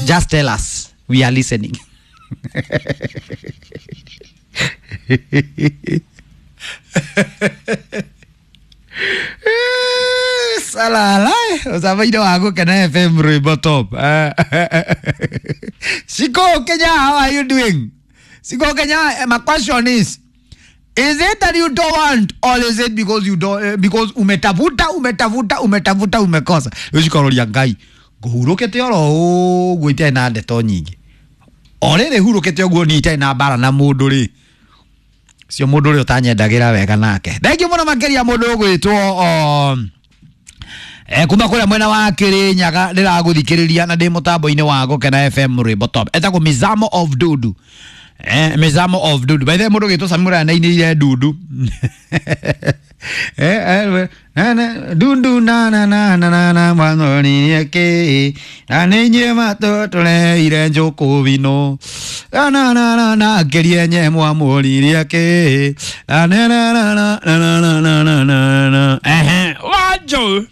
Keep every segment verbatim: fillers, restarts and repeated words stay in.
Just tell us, we are listening. Salala, usabaide wa Gukena F M rwimbo top. Shiko Kenya, how are you doing? Shiko Kenya, my question is, is it that you don't want, or is it because you don't, uh, because umetafuta, umetafuta, umetafuta, umekosa? Ushikororia Ngai nguhurukite oro ũguo itarĩ na ndeto nyingĩ. O rĩrĩ hurũkĩte ũguo niĩ itarĩ na mbara na mũndũ rĩ, cio mũndũ ũrĩa ũtanyendagĩra wega nake. Thengiũ mũno makĩria mũndũ ũgwĩtwo um, eh, kuma kũrĩa mwena wa Kĩrĩnyaga ndĩragũthikĩrĩria na ndĩ mũtambo-inĩ wa Gũkena F M rwĩmbo top. Etagwo Mizamo of Dudu. Eh, Mizamo of Dudu. By the way, mũndũ ũgwĩtwo Samura nĩainĩire Dudu. Eh, eh, eh, dundu na na na na na na mwanoni yake na ninye matotole ire njoko vino na na na na na kerie nye mwamori yake na na na na na na na na na na na eh wajo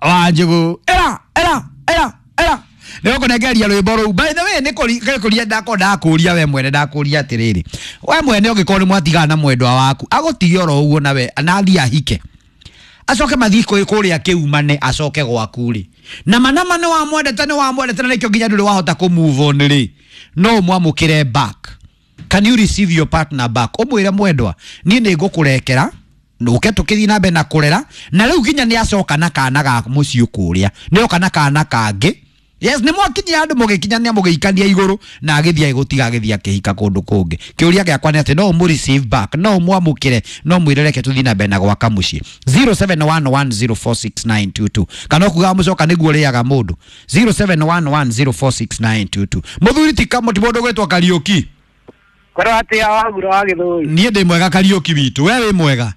wajo era era era era nä å kånengeria rwä mbo rå u. By the way, nä kå ria ndako ndakå we mwene ndakå ria atä rä rä we mwene å ngä korwo nä mwatigana na mwendwa waku agå tige oro å guo nawe na athiĩ ahike acoke mathiĩ kå rä a kä umane acoke gwaku rä na manama nä wamwendete nä wamwendete na nä kä o nginya ndå rä wahota kå move on rä no mwamå kä re back. Can you receive your partner back? Å mwä re mwendwa niä nä ngå kå rekera nũke tũkĩthiĩ na mbere na kũrera na rĩu nginya nĩ acoka na kana ga mũciĩ kũrĩa nĩ oka na kana kangĩ. Yes, nĩ mwakinyia andũ mũgĩkinyania mũgĩikania igũrũ na agĩthiĩ agĩgũtiga agĩthiĩ akĩhika kũndũ kũngĩ. Kĩũria gĩakwa nĩ atĩ no ũmũ receive back, no ũmwamũkĩre, no mwĩre reke tũthiĩ na mbere na gwaka mũciĩ. zero seven one one zero four six nine two two kana ũkugaga mũcoka nĩguo ũrĩaga mũndũ. zero seven one one zero four six nine two two. Mũthuri ti kamũ ti mũndũ ũgwĩtwo Kariũki. Korwo atĩa wagura wa Gĩthũi? Niĩ ndĩ mwega Kariũki witũ, we wĩ mwega?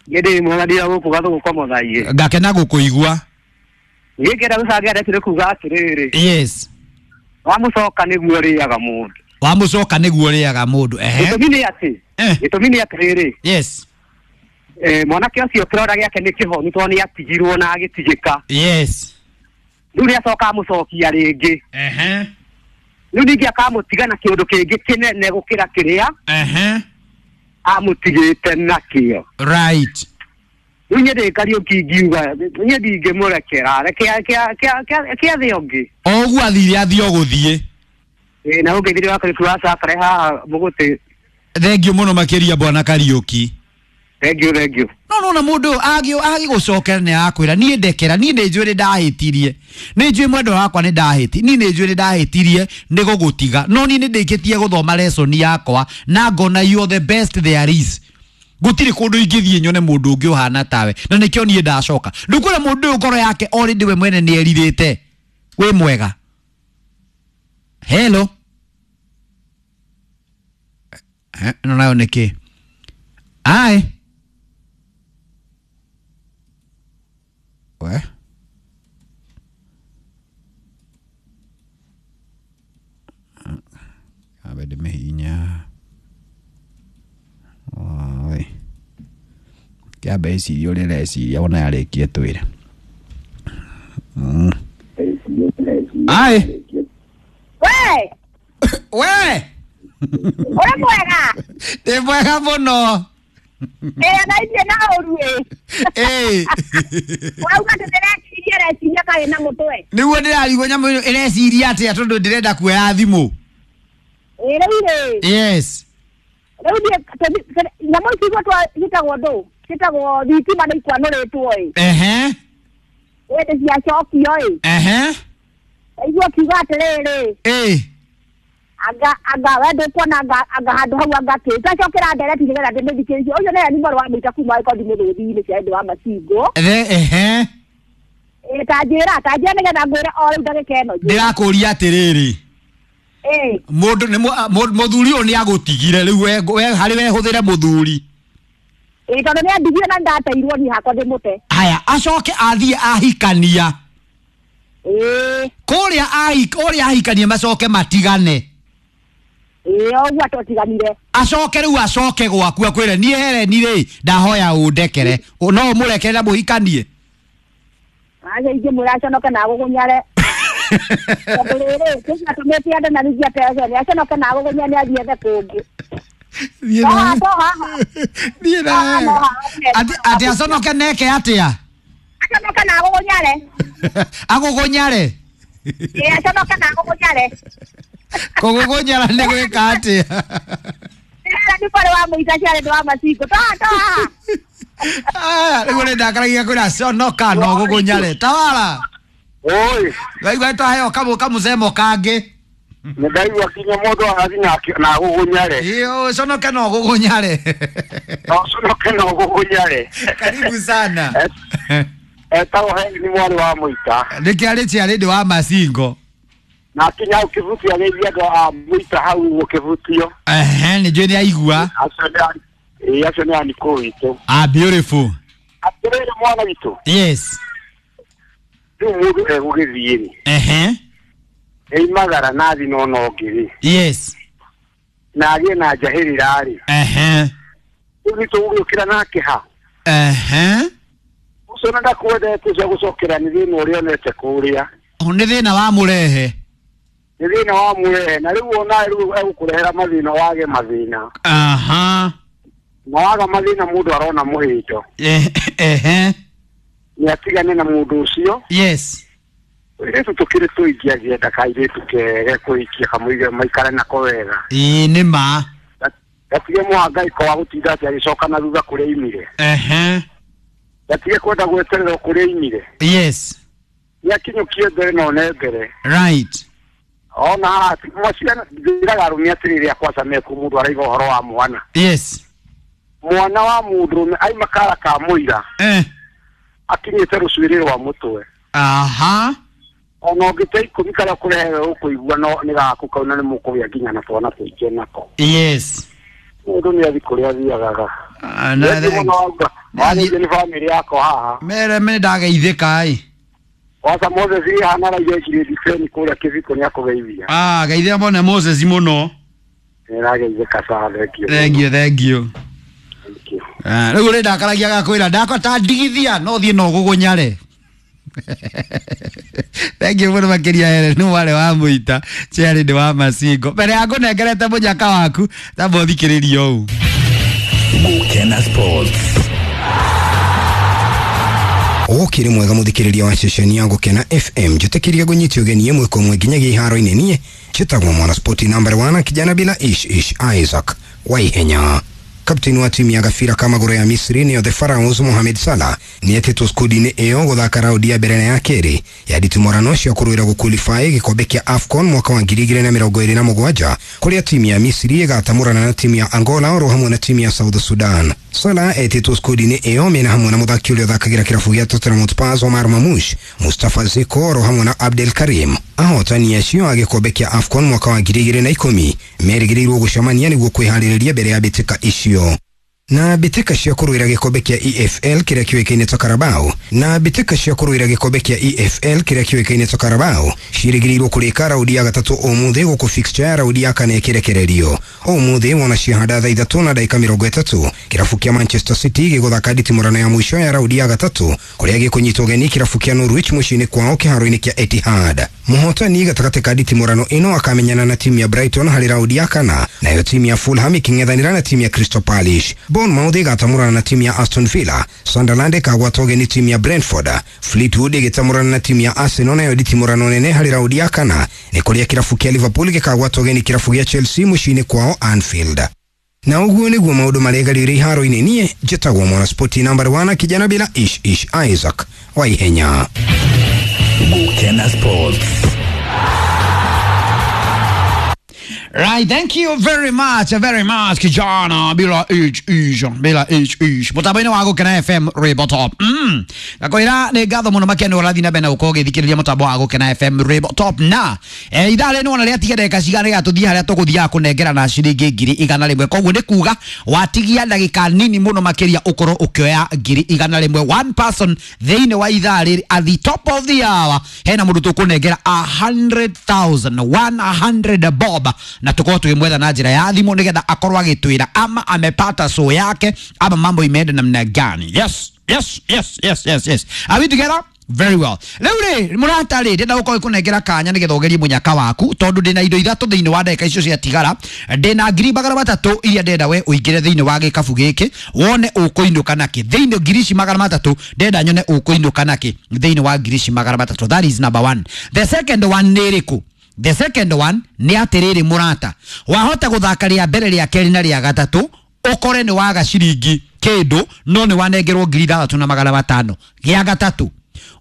Niĩ ndĩ mwega ndira gũkũ Gathũgũ kwa Mũthaiĩ. Ngakena gũkũigua. Niĩ ngĩenda gũcangia ndeto nĩ kuga atĩrĩrĩ. Yes. Wamũcoka nĩguo ũrĩaga mũndũ. Wamũcoka nĩguo ũrĩaga mũndũ. Ehe. Gĩtũmi nĩ atĩ. Eh. Gĩtũmi nĩ atĩrĩrĩ. Yes. Eh, mwanake ũcio kĩronda gĩake nĩ kĩhonu tondũ nĩ atigirwo na agĩtigĩka. Yes. Rĩu nĩ acoka amũcokia rĩngĩ. Ehe. Rĩu ningĩ akamũtiga na kĩũndũ kĩngĩ kĩnene gũkĩra kĩrĩa. Ehe. Amũtigĩte nakĩo. Right. Rĩu niĩ ndĩ Kariũki ingiuga niĩ ndingĩmũrekera reke reke athiĩ ũngĩ. O ũguo athire athiĩ o gũthiĩ. Ĩĩ na ũngĩthire wa Kariũki wa Cakare haha mũgũtĩ. Thengiũ mũno makĩria bwana Kariũki. Thengiũ thengiũ. No no na mũndũ agĩ agĩgũcokera nĩ akwĩra niĩ ndekera niĩ nĩ njũĩ nĩ ndahĩtirie nĩ njũĩ mwendwa wakwa nĩ ndahĩti niĩ nĩ njũĩ nĩ ndahĩtirie nĩ gũgũtiga no niĩ nĩ ndĩkĩtie gũthoma lesson yakwa na ngona you are the best there is. Gũtirĩ kũndũ ingĩthiĩ nyone mũndũ ũngĩ ũhana tawe na nĩkĩo niĩ ndacoka. Ndũkwĩra mũndũ ũyũ ngoro yake already we mwene nĩ erirĩte. Wĩ mwega. Hello. Eh, ĩno nayo nĩ kĩ? Ai. We. Abe ndĩmĩhihinya. Oi. Kĩambe ĩcirie ũrĩa ĩreciria wona yarĩkia twĩre. Mm. Ai. We. We. Ũrĩ mwega? Ndĩ mwega mũno. Ĩĩ na ithuĩ na ũru ĩ. Ĩĩ. Wauga atĩ ndĩreciria ĩreciria kaĩ na mũtwe. Nĩguo ndĩrarigwo nyamũ ĩno ĩreciria atĩa tondũ ndĩrenda kuoya thimũ. Ĩĩ rĩu rĩ. Yes. Rĩu niĩ nyamũ ici igwetwo ciĩtagwo ndũ? Ciĩtagwo thitima nĩ ikwanũrĩtwo ĩ. Ehe. Hĩndĩ ciacokio ĩ. Ehe. Ndaigua ũkiuga atĩrĩrĩ. Ĩĩ. Anga anga we ndũkuona anga anga handũ hau anga kĩ tacokera ndereti nĩgetha ndĩmĩthikĩrĩrie ũcio nĩwe nĩ mwarĩ wa mũita kuma ĩkondi mĩthũthi-inĩ cia ũndũ wa macingũ. Ehe. Ĩĩ ta njĩra ta njĩra nĩgetha ngwĩre o rĩu ndagĩka ĩno. Ndĩrakũria atĩrĩrĩ. Ĩĩ. Mũndũ nĩ mũthuri ũyũ nĩ agũtigire rĩu we harĩ we hũthĩre mũthuri. Ĩĩ tondũ nĩ andigire na ndateirwo niĩ hakwa ndĩmũte. Haya acoke athiĩ ahikania. Ĩĩ. Kũrĩa ahik ũrĩa ahikania macoke matigane. Ĩĩ ũguo twatiganire. Acoke rĩu acoke gwaku akwĩre niĩ Hereni rĩ ndahoya ũndekere no ũmũrekere na mũhikanie. Aca ingĩmwĩra aconoke na agũgũnyare. Tondũ rĩrĩ kĩcio atũmĩte andũ na ningĩ atecene aconoke na agũgũnya nĩ athiĩ ethe kũngĩ. Thiĩ No na haha to haha. Thiĩ na Haha no haha. Atĩ atĩ aconoke neke atĩa? Aconoke na agũgũnyare. Agũgũnyare. Ĩĩ aconoke na agũgũnyare. Kũgũgũnyara nĩ gwĩka atĩa? Ĩra nĩ mwarĩ wa mũita ciarĩ ndĩ wa macingo. To haha to haha. Aya, rĩu nĩ ndakaragia kwĩra conoka no gũgũnyare. Tawala. Oi, Waigua twaheo kamũ kamũcemo kangĩ. nĩ ndaigua kinya mũndũ arathiĩ na- na agũgũnyare. Ĩĩ conoke no gũgũnyare. No conoke na ũgũgũnyare. Karibu sana. Etagwo Heni nĩ mwarĩ wa mũita. Nĩkĩarĩ ciarĩ ndĩ wa macingo. Na akinya hau kĩbutio agĩithia andũ a mũita hau ũguo kĩbutio. Ehe, nĩ njũĩ nĩ aigua. Acio nĩ a- ĩĩ, acio nĩ anikũ witũ. Ah, beautiful. Atĩrĩrĩ mwana witũ, Yes. rĩu mũndũ egũgĩthiĩ rĩ, Ehe. eimagara na athi na ona ũngĩ rĩ, Yes. na agĩe na njahĩrĩra rĩ, Ehe. rĩu nĩ tũgũgĩũkĩra nake ha? Ehe. Ũcio na ndakwendete ũcio agũcokera nĩ thĩna ũrĩa onete kũrĩa. Nĩ thĩna wa mũrehe. Nĩ thĩna wa mũrehe na rĩu ona rĩu egũkũrehera mathĩna wage mathĩna. Aha. Na waga mathĩna mũndũ arona mũhĩndo. Eh, Ehe. Nĩ atigane na mũndũ ũcio. Yes. Airĩtu tũkĩrĩ tũingĩ angĩenda kairĩtu kege kũhikia kamũige maikare nako wega. Ĩĩ nĩ ma. Gatige mũhangaiko wa gũtinda atĩ agĩcoka na thutha kũrĩa aimire. Ehe. Gatige kwenda gweterera kũrĩa aimire. Yes. Nĩ akinyũkie mbere na one mbere. Right. Ona haha maciana njĩraga arũme atĩrĩrĩ akwaca meku mũndũ araiga ũhoro wa mwana. Yes. Mwana wa mũndũrũme aima kara ka mũira Eh. akinyĩte rũcuĩrĩ rwa mũtwe. Aha. Ona ũngĩte ikũmi karĩa ũkũrehe ũkũigua no nĩ gaku kau na nĩ mũkũgĩa nginya na twana tũingĩ nako. Yes. Mũndũ nĩ athi kũrĩa athiagaga. Ah, na Nĩ mũno wauga. Warĩtie nĩ bamĩrĩ yakwa haha. Mere me ndageithĩka ĩ. Waca Moses ĩ hana araiga icirĩndi beni kũrĩa kĩbiko nĩ akũgeithia. Ah, geithia mone Moses mũno. Nĩ arageithĩka sana, thank you. Thank you, thank you. Thank you. Ah, rĩu rĩ ndakaragia gakwĩra ndakwa ta ndigithia no thiĩ no gũgũnyare. Thank you mũno makĩria here nĩ mwarĩ wa mũita ciarĩ ndĩ wa macingo mbere ya ngũnengerete mũnyaka waku tamba ũthikĩrĩrie ũũ. Gukena Sports. Ũkĩrĩ mwega mũthikĩrĩria wa ceceni ya Gũkena F M njĩtĩkĩria ngũnyite ũgeni ĩmwe kwa ĩmwe nginyagia iharo-inĩ niĩ njĩtagwo mwana spoti number one kijana bila ish ish Isaac Waihenya. Kapteni wa timu ya gabira ka magũrũ ya Misri nĩyo The Pharaohs Mohamed Salah nĩetĩtwo skundi-inĩ ĩyo gũthaka raundi ya mbere na ya kerĩ ya nditimũrano cia kũrũĩra gũqualify gĩkombe kĩa AFCON mwaka wa ngiri igĩrĩ na mĩrongo ĩrĩ na mũgwanja kũrĩa timu ya Misri ĩgatamũrana na timu ya Angola oro hamwe na timu ya South Sudan. Salah etĩtwo skundi-inĩ ĩyo mena hamwe na mũthaki ũrĩa ũthakagĩra kĩrabu gĩa Tottenham Hotspur Omar Marmoush, Mustafa Ziko oro hamwe na Abdel Karim. Ahotani acio a gĩkombe kĩa AFCON mwaka wa ngiri igĩrĩ na ikũmi merĩgĩrĩirwo gũcemania nĩguo kwĩharĩrĩria mbere ya mbĩtĩka icio. Na mbĩtĩka cia kũrũĩra gĩkombe kĩa E F L kĩrĩa kĩũĩkaine ta Carabao na mbĩtĩka cia kũrũĩra gĩkombe kĩa E F L kĩrĩa kĩũĩkaine ta Carabao ciĩrĩgĩrĩirwo kũrĩka raundi ya gatatũ ũmũthĩ gũkũ fixture ya raundi ya kana ĩkĩrekererio. Ũmũthĩ wona ciahanda thaa ithatũ na ndagĩka mĩrongo ĩtatũ kĩrabu kĩa Manchester City gĩgũthaka nditimũrano ya mũico ya raundi ya gatatũ kũrĩa gĩkũnyitwo ũgeni kĩrabu kĩa Norwich mũciĩ-inĩ kwao kĩharo-inĩ kĩa Etihad. Mũhotani gatagatĩ ka nditimũrano ĩno akamenyana na timu ya Brighton harĩ raundi ya kana, nayo timu ya Fulham ĩkĩng'ethanĩra na timu ya Crystal Palace. Bournemouth ĩgatamũrana na timu ya Aston Villa, Sunderland ĩkagwata ũgeni timu ya Brentford, Fleetwood ĩgĩtamũrana na timu ya Arsenal, nayo nditimũrano nene harĩ raundi ya kana nĩ kũrĩa kĩrabu kĩa Liverpool gĩkagwata ũgeni kĩrabu gĩa Chelsea mũciĩ-inĩ kwao Anfield. Na ũguo nĩguo maũndũ maregarĩire iharo-inĩ. Niĩ njĩtagwo mwana spoti number one kijana bila ish ish Isaac Waihenya. Gukena Sports. Right, thank you very much, very much, kijana bila ich ich bila ich ich. Mutambo-inĩ wa Gũkena F M Rwĩmbo Top. Mm. Ngakwĩra nĩ ngatho mũno makĩria nĩ ũrathiĩ na mbere na gũkorwo ũgĩthikĩrĩria mũtambo wa Gũkena F M Rwĩmbo Top. Na eh, ithaa rĩrĩ nĩwona rĩatigia ndagĩka cigana nĩgetha tũthiĩ harĩa tũgũthiaga kũnengera na ciringi ngiri igana rĩmwe. Koguo nĩ kuga watigia ndagĩka nini mũno makĩria ũkorwo ũkĩoya ngiri igana rĩmwe. One person thĩinĩ wa ithaa rĩrĩ at the top of the hour hena mũndũ tũkũnengera a hundred thousand, one hundred bob, na tukorwo tukimwetha na njĩra ya thimũ nĩgetha akorwo agĩtwĩra ama amepata so yake ama mambo imeenda namna gani. Yes. yes yes yes yes yes Are we together? Very well. Rĩu rĩ, mũrata rĩ, ndĩrenda gũkorwo ngĩkũnengera kanya nĩgetha ũgerie mũnyaka waku, tondũ ndĩna indo ithatũ thĩinĩ wa ndagĩka icio ciatigara. Ndĩna ngiri magana matatũ iria ndĩrenda we ũingĩre thĩinĩ wa gĩkabu gĩkĩ wone ũkũinũka nakĩ. Thĩinĩ ngiri ici magana matatũ ndĩrenda nyone ũkũinũka nakĩ thĩinĩ wa ngiri ici magana matatũ. That is number one. The second one nĩ ĩrĩkũ? The second one nĩ atĩrĩrĩ mũrata, wahota gũthaka rĩa mbere, rĩa kerĩ na rĩa gatatũ, ũkore nĩ waga ciringi kĩndũ no nĩ wanengerwo ngiri ithathatũ na magana matano. Gĩa gatatũ,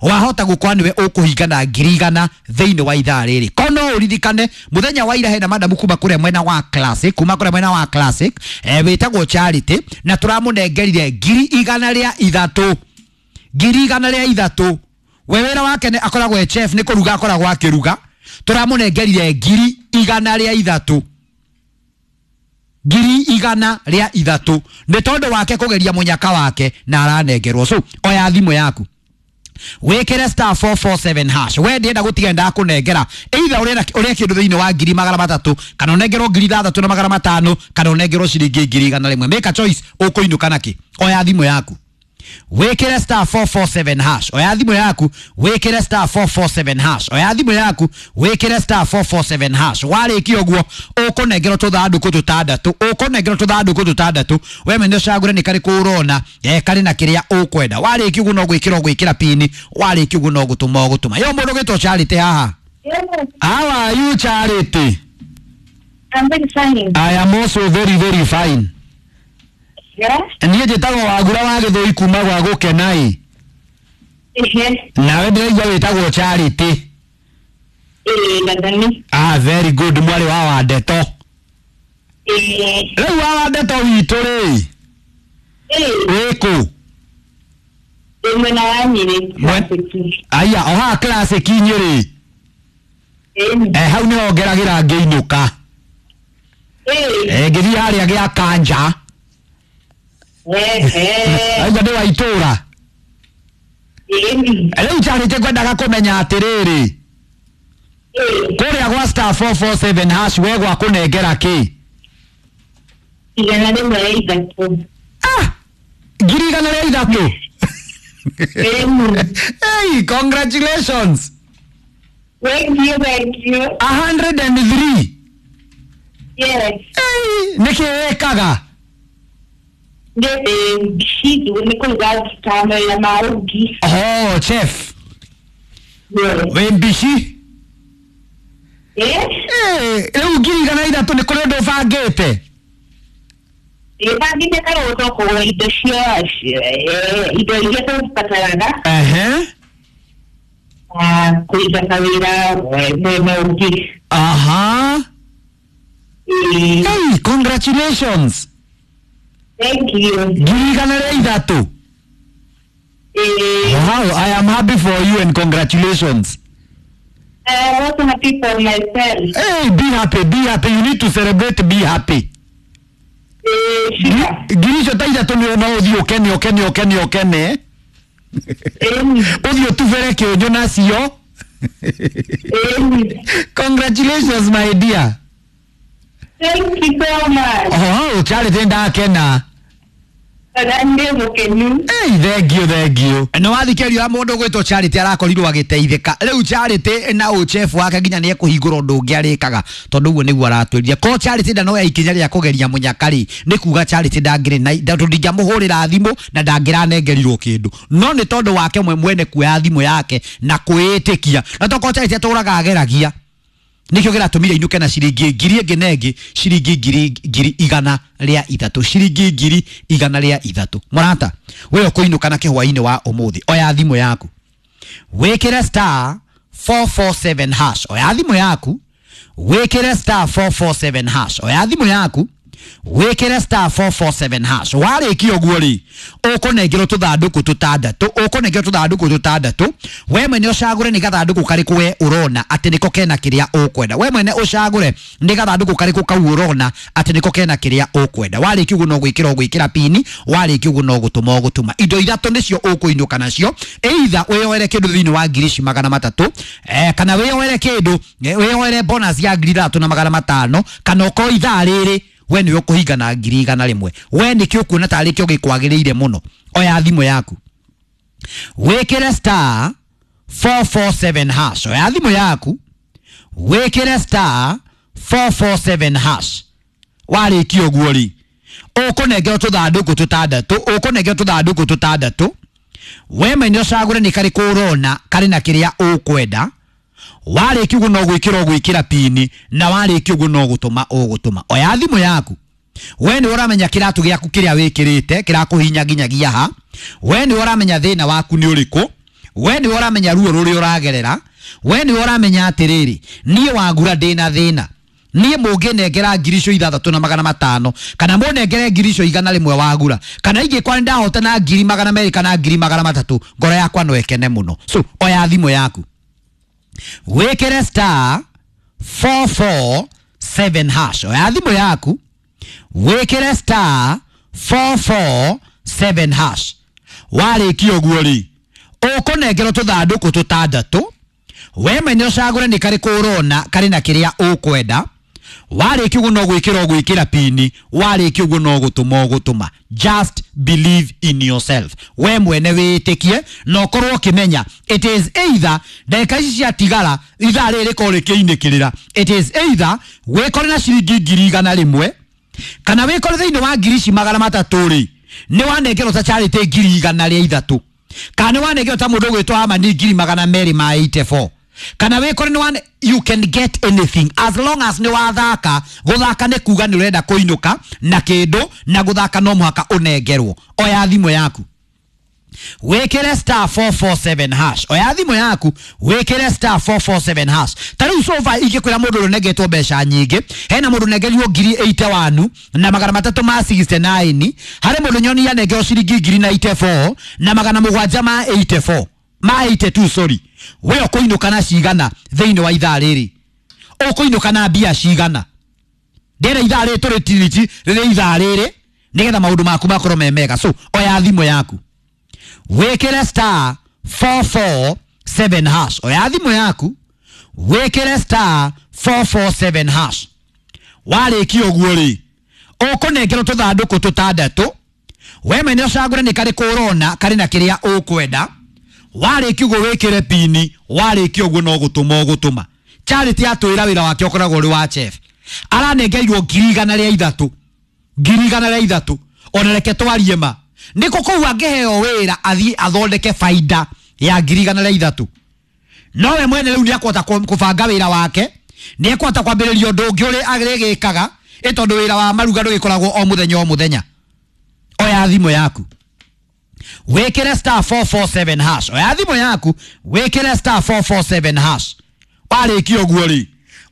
wahota gũkorwo nĩwe ũkũhinga na ngiri igana thĩinĩ wa ithaa rĩrĩ. Ko no ũririkane mũthenya wa ira hena madamu kuma kũrĩa mwena wa Classic, kuma kũrĩa mwena wa Classic, eh, wĩtagwo Charity, na tũramũnengerire ngiri igana rĩa ithatũ, ngiri igana rĩa ithatũ. We wĩra wake nĩ akoragwo e chef, nĩ kũruga akoragwo akĩruga. Tũramũnengerire ngiri igana rĩa ithatũ, ngiri igana rĩa ithatũ nĩ tondũ wake kũgeria mũnyaka wake na aranengerwo. So oya thimũ yaku wikire star four four seven hash. We ndienda gutiga ndakunengera either urenda uria kindu thiini wa ngiri magana matatu, kana unengerwo ngiri ithathatu na magana matano, kana unengerwo ciringi ngiri igana rimwe. Make a choice ukuinuka naki. Oya thimu yaku wikire star four four seven hash. Oya thimu yaku wikire star four four seven hash. Oya thimu yaku wikire star four four seven hash. Warikia uguo ukunengerwo tuthanduku tutandatu, ukunengerwo tuthanduku tutandatu. We mwene ucagure ni kariku urona, eh, kari na kiria ukwenda. Warikia uguo no gwikira gwikira pini, warikia uguo no gutuma gutuma. Yo mundu gwitwo Charity haha. How are you, Charity? I'm very fine. I am also very very fine. Yeah. Niĩ njĩtagwo Wagura wa Gĩthũi kuma gwa Gũkenai. Ehe. Nawe ndĩraigua wĩtagwo Charity. Ĩĩ, Ndathani. Ah, very good, mwarĩ wa Wandeto. Ĩĩ. Rĩu wa Wandeto witũ rĩ, Ĩĩ. wĩ kũ? Ndĩ mwena wa Nyĩrĩ. Mwe- Aya, o haha Classic Nyĩrĩ. Ĩĩ. Eh, hau nĩho ngeragĩra ngĩinũka. Ĩĩ. Eh, ngĩthiĩ harĩa gĩa Kanja. Ehe. Aigua ndĩ wa itũra. Ĩĩ. Rĩu Charity ngwendaga kũmenya atĩrĩrĩ, Ĩĩ. kũrĩa gwa star four four seven hash we gwa kũnengera kĩ? Igana rĩmwe rĩa ithatũ. Ah! Ngiri igana rĩa ithatũ. Ĩĩ. Hey, congratulations. Thank you, thank you. A hundred and three. Yes. Hey, nĩkĩ wĩkaga? Ndĩ mbici nĩ kũruga mawĩra ma ũrugi. Oh, chef. Yes. Wĩ mbici? Ĩĩ. Hey, rĩu ngiri igana ithatũ nĩ kũrĩ ũndũ ũbangĩte? Ndĩbangĩte karũtho kũgũra indo cia eh, indo iria tũbataraga Ehe. na kũiga kawĩra eh, mwena ũngĩ. Aha. Ĩĩ. Hey, congratulations. Thank you. Ngiri igana rĩa ithatũ. Ĩĩ. Wow, I am happy for you and congratulations. I'm also happy for myself. Hey, be happy, be happy. You need to celebrate, be happy. Ĩĩ, sure. Ngiri icio ta ithatũ nĩ no ũthiĩ ũkene ũkene ũkene ũkene. Ĩĩ. Ũthiĩ ũtubere kĩũnjũ nacio. Ĩĩ. Congratulations, my dear. Thank you so much. Oh, Charity ndakena. Na ndĩ mũkenu. Hey, thank you, thank you. Nĩ wathikĩrĩria mũndũ gwĩtwo Charity arakorirwo agĩteithĩka. Rĩu Charity na ũchefu wake nginya nĩ ekũhingũra ũndũ ũngĩ arĩkaga tondũ ũguo nĩguo aratwĩrire. Ko Charity ndanoya ikinya rĩa kũgeria mũnyaka rĩ, nĩ kuga Charity ndangĩrĩ na tondũ ndingĩamũhũrĩra thimũ na ndangĩranengerirwo kĩndũ. No nĩ tondũ wake mwe mwene kuoya thimũ yake na kwĩĩtĩkia. Na tokorwo Charity atũraga ageragia, nikio gĩratũmire inuke na ciringi ngiri ĩngĩ na ĩngĩ, ciringi ngiri ngiri igana rĩa ithatũ, ciringi ngiri igana rĩa ithatũ. Mũrata, we ũkũinũka na kĩhwainĩ wa ũmũthĩ, oya thimũ yaku wĩkĩre star four four seven hash. Oya thimũ yaku wĩkĩre star four four seven hash. Oya thimũ yaku wĩkĩre star four four seven hash. Warĩkia ũguo rĩ, ũkũnengerwo tũthandũkũ tũtandatũ, ũkũnengerwo tũthandũkũ tũtandatũ. We mwene ũcagũre nĩ gathandũkũ karĩkũ we ũrona atĩ nĩko kena kĩrĩa ũkwenda. We mwene ũcagũre nĩ gathandũkũ karĩkũ kau ũrona atĩ nĩko kena kĩrĩa ũkwenda. Warĩkia ũguo no gwĩkĩra ũgwĩkĩra pini, warĩkia ũguo no gũtũma ũgũtũma. Indo ithatũ nĩcio ũkũinũka nacio, either wĩyoere kĩndũ thĩinĩ wa ngiri ici magana matatũ, eh, kana wĩyoere kĩndũ, eh, wĩyoere bonus ya ngiri ithatũ na magana matano, kana ũkorwo ithaa rĩrĩ we nĩwe ũkũhinga na ngiri igana rĩmwe. We nĩkĩo ũkuona tarĩ kĩo gĩkwagĩrĩire mũno. Oya thimũ yaku Wĩkĩre star four four seven hash. Oya thimũ yaku wĩkĩre star four four seven hash. Warĩkia ũguo rĩ, ũkũnengerwo tũthandũkũ tũtandatũ, ũkũnengerwo tũthandũkũ tũtandatũ. We mwene ũcagũre nĩ karĩkũ ũrona karĩ na kĩrĩa ũkwenda. Warĩkia ũguo no gwĩkĩra ũgwĩkĩra pini, na warĩkia ũguo no gũtũma ũgũtũma. Oya thimũ yaku. We nĩ ũramenya kĩratũ gĩaku kĩrĩa wĩkĩrĩte kĩrakũhinya nginyagia ha. We nĩ ũramenya thĩna waku nĩ ũrĩkũ. We nĩ ũramenya ruo rũrĩa ũragerera. We nĩ ũramenya atĩrĩrĩ, niĩ wagura ndĩna thĩna. Niĩ mũngĩnengera ngiri icio ithathatũ na magana matano, kana mũnengere ngiri icio igana rĩmwe wagura, kana ingĩkorwo nĩ ndahotana ngiri magana merĩ kana ngiri magana matatũ, ngoro yakwa no ĩkene mũno. So oya thimũ yaku wĩkĩre star four four seven hash. Oya thimũ yaku wĩkĩre star four four seven hash. Warĩkia ũguo rĩ, ũkũnengerwo tũthandũkũ tũtandatũ. We mwene ũcagũre nĩ karĩkũ ũrona karĩ na kĩrĩa ũkwenda. Warĩkia ũguo no gwĩkĩra ũgwĩkĩra pini, warĩkia ũguo no gũtũma ũgũtũma. Just believe in yourself. We mwene wĩtĩkie na ũkorwo ũkĩmenya it is either ndagĩka ici ciatigara ithaa rĩrĩ rĩkorwo rĩkĩinĩkĩrĩra, it is either wĩkore na ciringi ngiri igana rĩmwe, kana wĩkore thĩinĩ wa ngiri ici magana matatũ rĩ, nĩ wanengerwo ta Charity ngiri igana rĩa ithatũ, kana nĩ wanengerwo ta mũndũ ũgwĩtwo Amani ngiri magana merĩ ma eighty four, kana wĩkore nĩ wane, you can get anything as long as nĩ wathaka. Gũthaka nĩ kuga nĩ ũrenda kũinũka na kĩndũ, na gũthaka no mũhaka ũnengerwo. Oya thimũ yaku wĩkĩre star four four seven hash. Oya thimũ yaku wĩkĩre star four four seven hash. Ta rĩu so far ingĩkwĩra mũndũ ũrĩa ũnengetwo mbeca nyingĩ, hena mũndũ ũnengerirwo ngiri eighty one na magana matatũ ma sixty nine, harĩ mũndũ nyoni anengerwo ciringi ngiri ninety four na magana mũgwanja ma eighty four ma eighty two, sorry. We ũkũinũka na cigana thĩinĩ wa ithaa rĩrĩ? Ũkũinũka na mbia cigana? Ndĩra ithaa rĩrĩ tũrĩ tiriti rĩrĩ ithaa rĩrĩ nĩgetha maũndũ maku makorwo me mega. So oya thimũ yaku wĩkĩre star four four seven hash. Oya thimũ yaku wĩkĩre star four four seven hash. Warĩkia ũguo rĩ, ũkũnengerwo tũthandũkũ tũtandatũ. We mwene ũcagũre nĩ karĩkũ ũrona karĩ na kĩrĩa ũkwenda. Warĩkia ũguo wĩkĩre pini, warĩkia ũguo no gũtũma ũgũtũma. Charity atwĩra wĩra wake ũkoragwo ũrĩ wa chef. Aranengerirwo ngiri igana rĩa ithatũ, ngiri igana rĩa ithatũ. Ona reke twarie ma, nĩkũ kũu angĩheo wĩra athiĩ athondeke baida ya ngiri igana rĩa ithatũ? Nowe mwene rĩu nĩekũhota kũbanga wĩra wake, nĩekũhota kwambĩrĩria ũndũ ũngĩ ũrĩa arĩgĩkaga, ĩ tondũ wĩra wa maruga ndũgĩkoragwo o mũthenya o mũthenya. Oya thimũ yaku wĩkĩre star four four seven hash. Oya thimũ yaku wĩkĩre star four four seven hash. Warĩkia ũguo rĩ,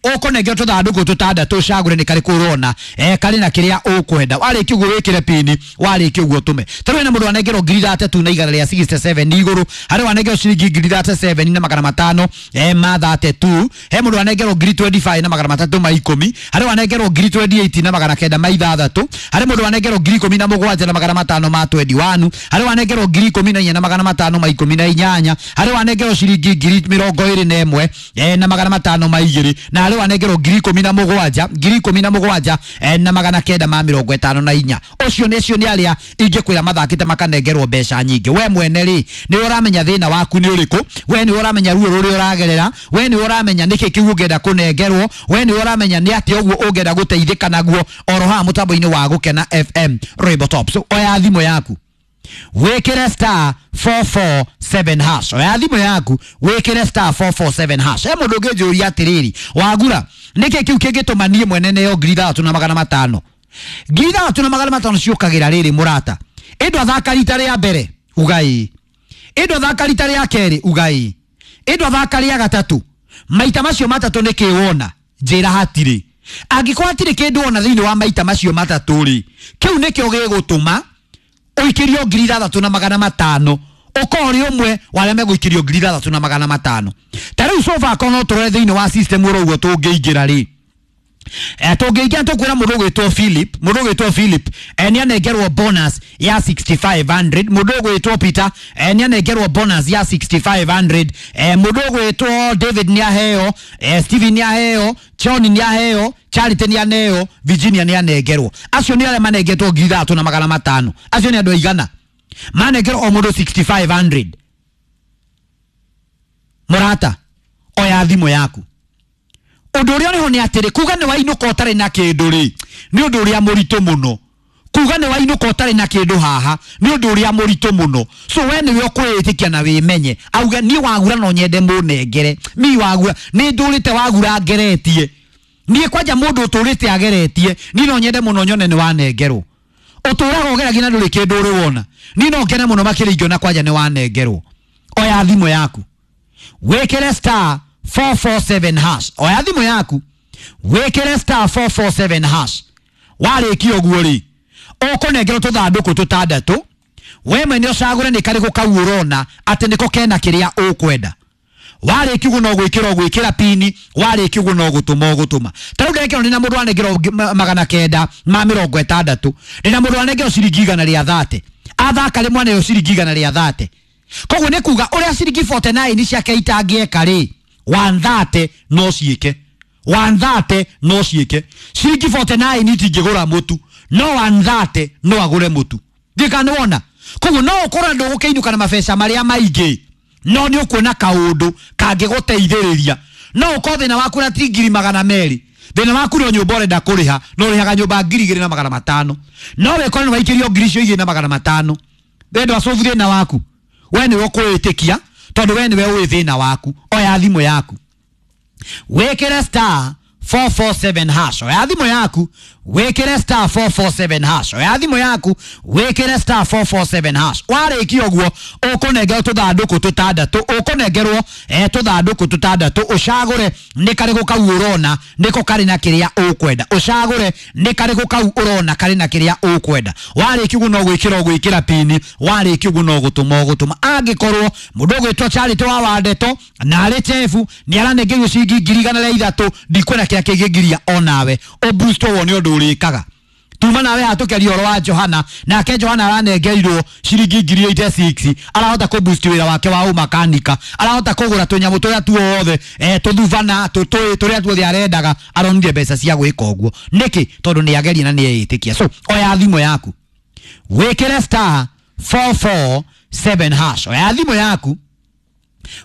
ũkũnengerwo tũthandũkũ tũtandatũ ũcagũre nĩ karĩkũ ũrona eh karĩ na kĩrĩa ũkwenda. Warĩkia ũguo wĩkĩre pini, warĩkia ũguo ũtũme. Ta rĩu hena mũndũ anengerwo ngiri ithatũ na igana rĩa sixty seven igũrũ, harĩ wanengerwo ciringi ngiri thirty seven na magana matano eh ma thirty two, he mũndũ anengerwo ngiri twenty five na magana matatũ ma ikũmi, harĩ wanengerwo ngiri twenty eight na magana kenda ma ithathatũ, harĩ mũndũ anengerwo ngiri ikũmi na mũgwanja na magana matano ma twenty one, harĩ wanengerwo ngiri ikũmi na inya na magana matano ma ikũmi na inyanya, harĩ wanengerwo ciringi ngiri mĩrongo ĩrĩ na ĩmwe eh na magana matano ma igĩrĩ, na harĩ wanengerwo ngiri ikũmi na mũgwanja, ngiri ikũmi na mũgwanja eh, na magana kenda ma mĩrongo ĩtano na inya. Ũcio nĩ ũcio nĩ arĩa ingĩkwĩra mathakĩte makanengerwo mbeca nyingĩ. We mwene rĩ, nĩ ũramenya thĩna waku nĩ ũrĩkũ, we nĩ ũramenya ruo rũrĩa ũragerera, we nĩ ũramenya nĩkĩ kĩu ũngĩenda kũnengerwo, we nĩ ũramenya nĩ atĩa ũguo ũngĩenda gũteithĩka naguo oro haha mũtambo-inĩ wa Gũkena F M Rainbow Top. So oya thimũ yaku wĩkĩre star four four seven hash. Oya thimũ yaku wĩkĩre star four four seven hash. He mũndũ ũngĩnjũria atĩrĩrĩ, wagura nĩkĩ kĩu kĩngĩtũma niĩ mwene neo ngiri ithathatũ na magana matano? Ngiri ithathatũ na magana matano ciũkagĩra rĩrĩ mũrata, ĩndũ athaka rita rĩa mbere ugai, ĩndũ athaka rita rĩa kerĩ ugai, ĩndũ athaka rĩa gatatũ. Maita macio matatũ nĩkĩ wona? Njĩra hatirĩ. Angĩkorwo hatirĩ kĩndũ wona thĩinĩ wa maita macio matatũ rĩ, kĩu nĩkĩo gĩgũtũma ũikĩrio ngiri ithathatũ na magana matano, ũkorwo ũrĩ ũmwe wa arĩa megũikĩrio ngiri ithathatũ na magana matano. Ta rĩu so far korwo no tũrore thĩinĩ wa system ũrĩa ũguo tũngĩingĩra rĩ, eh tũngĩingĩra tũkwĩra mũndũ ũgwĩtwo Philip, mũndũ ũgwĩtwo Philip eh nĩ anengerwo bonus ya sixty five hundred, mũndũ ũgwĩtwo Peter eh nĩ anengerwo bonus ya sixty five hundred, eh mũndũ ũgwĩtwo David nĩ aheo, eh Steven nĩ aheo, John nĩ aheo, Charity nĩ aneo, Virginia nĩ anengerwo. Acio nĩ arĩa manengetwo ngiri ithathatũ na magana matano. Acio nĩ andũ aigana manengerwo o mũndũ sixty five hundred. Mũrata, oya thimũ yaku. Ũndũ ũrĩa ũrĩho nĩ atĩrĩ, kuga nĩ wainũka ũtarĩ na kĩndũ rĩ, nĩ ũndũ ũrĩa mũritũ mũno. Kuga nĩ wainũka ũtarĩ na kĩndũ haha nĩ ũndũ ũrĩa mũritũ mũno. So we nĩwe ũkwĩĩtĩkia na wĩmenye. Auge niĩ wagura no nyende mũnengere. Mi wagura nĩ ndũrĩte wagura ngeretie. Niĩ kwanja mũndũ ũtũrĩte ageretie, niĩ no nyende mũno nyone nĩ wanengerwo. Ũtũraga ũgeragia na ndũrĩ kĩndũ ũrĩ wona. Niĩ no ngene mũno makĩria ingĩona kwanja nĩ wanengerwo. Oya thimũ yaku, wĩkĩre star four four seven hash. Oya thimũ yaku, wĩkĩre star four four seven hash. Warĩkia ũguo rĩ, ũkũnengerwo tũthandũkũ tũtandatũ. We mwene ũcagũre nĩ karĩkũ kau ũrona atĩ nĩko kena kĩrĩa ũkwenda. Warĩkia ũguo no gwĩkĩra ũgwĩkĩra pini, warĩkia ũguo no gũtũma ũgũtũma. Ta rĩu ndekĩrwo ndĩna mũndũ wanengerwo magana kenda ma mĩrongo ĩtandatũ, ndĩna mũndũ wanengerwo ciringi igana rĩa thate. Athaka rĩmwe aneo ciringi igana rĩa thate. Koguo nĩ kuga ũrĩa ciringi forty nine ciake itangĩeka rĩ, one thirty no ciĩke. one thirty no ciĩke. Ciringi forty nine itingĩgũra mũtu, no one thirty no agũre mũtu. Ndika nĩ wona. Koguo no ũkorwo ndũgũkĩinũka na mabeca marĩa maingĩ, no nĩ ũkuona kaũndũ kangĩgũteithĩrĩria. No ũkorwo thĩna waku na ti ngiri magana merĩ, thĩna waku no nyũmba ũrenda kũrĩha, no ũrĩhaga nyũmba ngiri igĩrĩ na magana matano. No wĩkore nĩ waikĩrio ngiri icio igĩrĩ na magana matano. Wendo acobu thĩna waku, we nĩwe ũkwĩĩtĩkia, tondũ we nĩwe ũĩ thĩna waku. Oya thimũ yaku, wĩkĩre star four four seven hash. Oya thimũ yaku, wĩkĩre star four four seven hash. Oya thimũ yaku, wĩkĩre star four four seven hash. Warĩkia ũguo ũkũnengerwo tũthandũkũ tũtandatũ, ũkũnengerwo eh tũthandũkũ tũtandatũ. Ũcagũre nĩ karĩkũ kau ũrona nĩko karĩ na kĩrĩa ũkwenda. Ũcagũre nĩ karĩkũ kau ũrona karĩ na kĩrĩa ũkwenda. Warĩkia ũguo no gwĩkĩra ũgwĩkĩra pini, warĩkia ũguo no gũtũma ũgũtũma. Angĩkorwo mũndũ ũgwĩtwo Charity wa Wandeto na arĩ chefu nĩ aranengerio ciringi ngiri igana rĩa ithatũ, ndikwenda kĩrĩa kĩngĩngiria onawe ũboost wone ũndũ ũrĩkaga. Tuma nawe hatũkeria ũhoro wa Johana, nake Johana aranengerirwo ciringi ngiri eighty six, arahota kũboost wĩra wake wa ũmakanika, arahota kũgũra tũnyamũ tũrĩa tuothe, eh tũthuvana tũtũĩ tũrĩa tuothe arendaga, aronire mbeca cia gwĩka ũguo. Nĩkĩ? Tondũ nĩ ageria na nĩ eĩtĩkia. So oya thimũ yaku, wĩkĩre star four four seven hash. Oya thimũ yaku,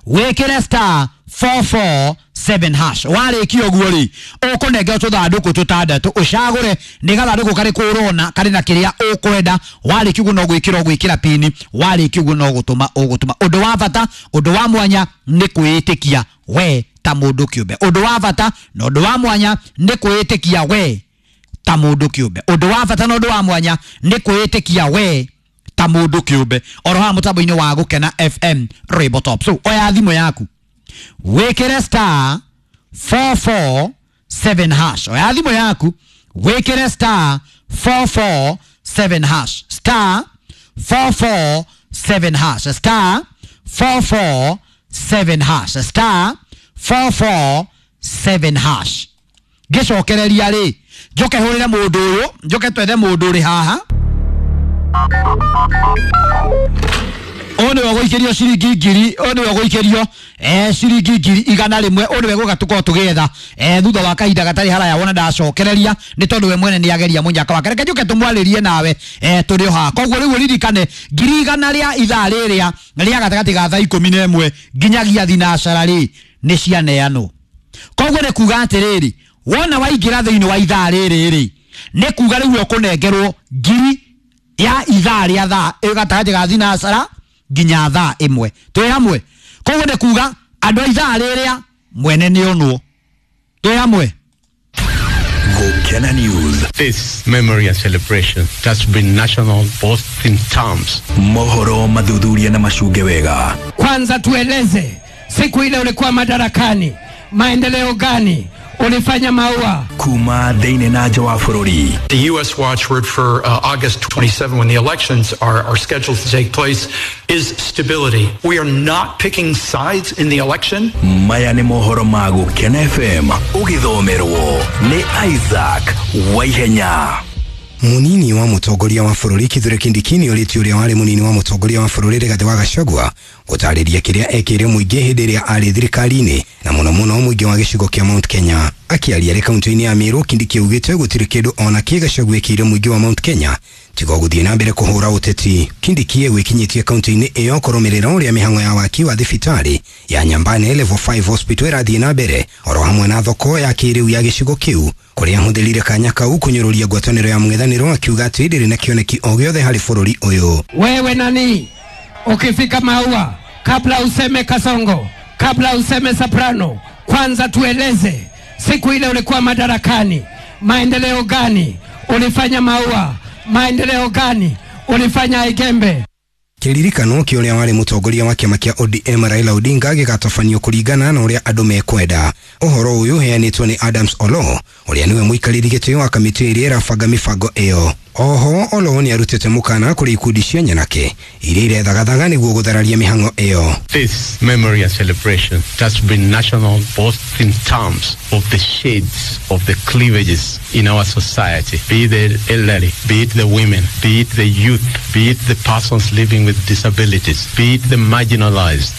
wĩkĩre star four four seven hash. Warĩkia ũguo rĩ, ũkũnengerwo tũthandũkũ tũtandatũ, ũcagũre nĩ gathandũkũ karĩkũ ũrona karĩ na kĩrĩa ũkwenda. Warĩkia ũguo no gwĩkĩra ũgwĩkĩra pini, warĩkia ũguo no gũtũma ũgũtũma. Ũndũ wa bata, ũndũ wa mwanya nĩ kwĩĩtĩkia we ta mũndũ kĩũmbe. Ũndũ wa bata na ũndũ wa mwanya nĩ kwĩĩtĩkia we ta mũndũ kĩũmbe. Ũndũ wa bata na ũndũ wa mwanya nĩ kwĩĩtĩkia we ta mũndũ kĩũmbe. Oro haha mũtambo-inĩ wa Gũkena F M Rainbow Top. So oya thimũ yaku, wĩkĩre star four four seven hash. Oya thimũ yaku, wĩkĩre star four four seven hash. Star four four seven hash. Star four four seven hash. Star four four seven hash. Ngĩcokereria rĩ, njoke hũrĩre mũndũ ũyũ, njoke twethe mũndũ ũrĩ haha. Ũyũ nĩwe ũgũikĩrio ciringi ngiri, ũyũ nĩwe ũgũikĩrio eh ciringi ngiri igana rĩmwe, ũyũ nĩwe gũka tũkorwo tũgĩetha eh thutha wa kahinda gatarĩ haraya. Wona ndacokereria nĩ tondũ we mwene nĩageria mũnyaka wake. Reke njũke tũmwarĩrie nawe eh tũrĩ o haha. Koguo rĩu ũririkane ngiri igana rĩa ithaa rĩrĩa rĩa gatagatĩ ga thaa ikũmi na ĩmwe nginyagia thinacara rĩ nĩ cianeanwo. Koguo nĩ kuga atĩrĩrĩ, wona waingĩra thĩinĩ wa ithaa rĩrĩ rĩ, nĩ kuga rĩu ũkũnengerwo ngiri ya ithaa rĩa thaa gatagatĩ ga thinacara nginya thaa ĩmwe. Twĩ hamwe? Koguo nĩ kuga andũ a ithaa rĩrĩa mwene nĩ onwo. Twĩ hamwe? Gukena News. This memory and celebration has been national both in terms. Mohoro mathuthuria na macunge wega. Kwanza tueleze, siku ile ulikuwa madarakani, maendeleo gani ulifanya maua? Kuma thĩinĩ na nja wa bũrũri. The U S watchword for uh, August twenty-seventh, when the elections are, are scheduled to take place, is stability. We are not picking sides in the election. Maya nĩ mohoro ma Gũkena F M ũgĩthomerwo nĩ Isaac Waihenya. Munini wa mutongoria wa bũrũri Kithure Kindiki nĩ orĩtie ũrĩa warĩ munini wa mutongoria wa bũrũri Rigathĩ wa Gachagua gũtarĩria kĩrĩa ekĩire mũingĩ hĩndĩ ĩrĩa arĩ thirikari-inĩ na mũno mũno mũingĩ wa gĩcigo kĩa Mount Kenya. Akĩaria arĩ kaunti-inĩ ya Meru, Kindiki augĩte gũtirĩ kĩndũ ona kĩ Gachagua ekĩire mũingĩ wa Mount Kenya Tiga gũthiĩ na mbere kũhũra ũteti. Kindiki gwĩkinyĩtie kaunti-inĩ ĩyo kũrũmĩrĩra ũrĩa mĩhang'o ya waki wa thibitarĩ ya Nyambane Level five Hospital ĩrathiĩ na mbere oro hamwe na thoko ya kĩrĩu ya gĩcigo kĩu, kũrĩa ahũthĩrire kanya kau kũnyũrũria ngwatanĩro ya mũng'ethanĩro akiuga atĩ ndĩrĩ na kĩoneki o gĩothe harĩ bũrũri ũyũ. Wewe nani ukifika Maua, kabla useme Kasongo, kabla useme Soprano, kwanza tueleze siku ile ulikuwa madarakani, maendeleo gani ulifanya Maua, maendeleo gani ulifanya Igembe? Kĩririkano kĩa ũrĩa warĩ mũtongoria wa kĩama kĩa O D M Raila Odinga gĩgatabanio kũringana na ũrĩa andũ mekwenda. Ũhoro ũyũ ũheanĩtwo nĩ Adams Oloo ũrĩa nĩwe mũikarĩri gĩtĩ wa kamĩtĩ ĩrĩa ĩrabanga mĩbango ĩyo. Oho Oloo nĩ arutĩte mũkana kũrĩ ikundi cia nyanake iria irethagathaga nĩguo gũthararia mĩhang'o ĩyo. This memory and celebration has been national both in terms of the shades of the cleavages in our society, be it the elderly, be it the women, be it the youth, be it the persons living with disabilities, be it the marginalized.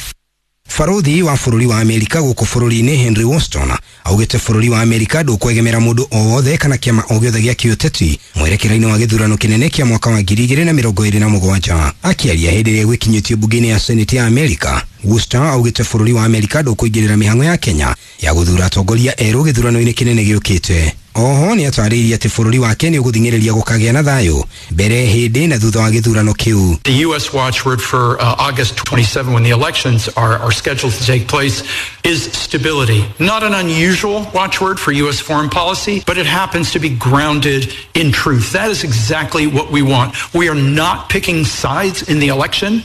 Barothi wa bũrũri wa Amerika gũkũ bũrũri-inĩ Henry Weston augĩte bũrũri wa Amerika ndũkwegemera mũndũ o wothe kana kĩama o gĩothe gĩa kĩũteti mwerekera-inĩ wa gĩthurano kĩnene kĩa mwaka wa ngiri igĩrĩ na mĩrongo ĩrĩ na mũgwanja. Akĩaria hĩndĩ ĩrĩa gwĩkinyĩtio mbunge-inĩ ya Senate ya Amerika, Weston augĩte bũrũri wa Amerika ndũkũingĩrĩra mĩhang'o ya Kenya ya gũthura atongoria erũ gĩthurano-inĩ kĩnene gĩũkĩte. Oho nĩ atarĩirie atĩ bũrũri wake nĩ ũgũthing'ĩrĩria gũkagĩa na thayũ mbere, hĩndĩ na thutha wa gĩthurano kĩu. The U S watchword for uh, August twenty-seventh, when the elections are, are scheduled to take place, is stability. Not an unusual watchword for U S foreign policy, but it happens to be grounded in truth. That is exactly what we want. We are not picking sides in the election.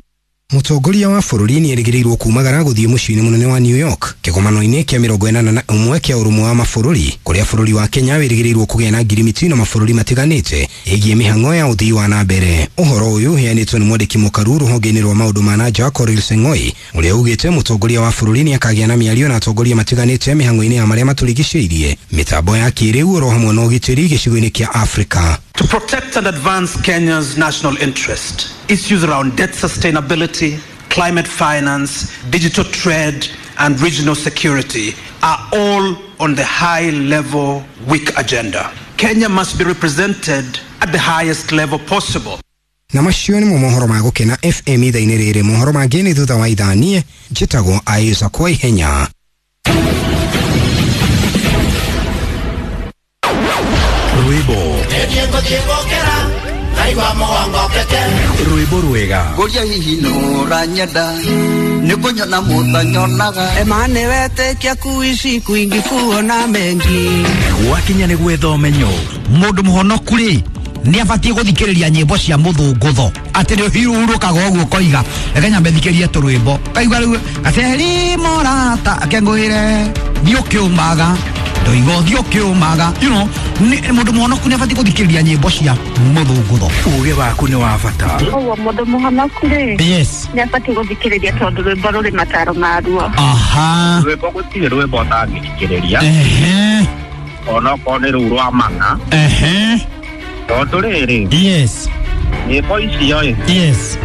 Mũtongoria wa bũrũri nĩ erĩgĩrĩirwo kumagara gũthiĩ mũciĩ-inĩ mũnene wa New York kĩgomano-inĩ kĩa mĩrongo ĩnana na ũmwe kĩa ũrũmwe wa mabũrũri, kũrĩa bũrũri wa Kenya wĩrĩgĩrĩirwo kũgĩa na ngirimiti na mabũrũri matiganĩte ĩgiĩ mĩhang'o ya ũthii wa na mbere. Ũhoro ũyũ ũheanĩtwo nĩ mwandĩki mũkaru rũhonge-inĩ rwa maũndũ ma na nja Korir Seng'oi, ũrĩa ugĩte mũtongoria wa bũrũri nĩ akagĩa na mĩario na atongoria matiganĩte mĩhang'o-inĩ ya marĩa matũrigicĩirie, mĩtambo ya kĩrĩu oro hamwe na ũgitĩri gĩcigo-inĩ kĩa Afrika. To protect and advance Kenya's national interest, issues around debt sustainability, climate finance, digital trade, and regional security are all on the high-level week agenda. Kenya must be represented at the highest level possible. Na macio nĩmo mohoro ma Gũkena F M ithaa-inĩ rĩrĩ. Mohoro mangĩ nĩ thutha wa ithaa. Niĩ njĩtagwo Isaac Waihenya. Rwĩmbo rwĩmbo rwega ngũria hihi nũranyenda nĩ kũnyona mũtanyonaga emane wetĩkia kuici kwingi kuona mengi gwakinya nĩ gwetha ũmenyo. Mũndũ mũhonoku rĩ nĩ abatiĩ gũthikĩrĩria nyĩmbo cia mũthũngũtho atĩ nĩ ũhurũkaga ũguo ũkoiga reke nyambe thikĩrie tũrwĩmbo kaigua rĩu gaceri morata akengũĩre thiĩ ũkĩũmaga ndoiga ũthiĩ ũkĩũmaga, you know, mũndũ mũhonoku nĩ abatiĩ gũthikĩrĩria nyĩmbo cia mũthũngũtho. Ũgĩ waku nĩ wa bata. Ũguo mũndũ mũhonoku rĩ, yes, nĩ abatiĩ gũthikĩrĩria tondũ rwĩmbo rũrĩ mataro maruo. Aha, rwĩmbo gũtirĩ rwĩmbo ũtangĩthikĩrĩria, ehe, onokorwo nĩ rũu rwa mang'a, ehe, tondũ rĩrĩ, yes, nyĩmbo icio ĩ, yes,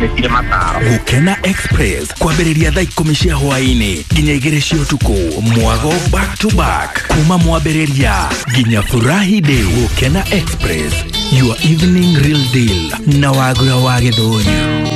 nĩ mataro. Gũkena Express kwambĩrĩria thaa ikũmi cia hwaĩ-inĩ nginya igĩrĩ cia ũtukũ, mwago back to back kuma mwambĩrĩria nginya furahi day. Gũkena Express, your evening real deal na Wagura wa Gĩthũri.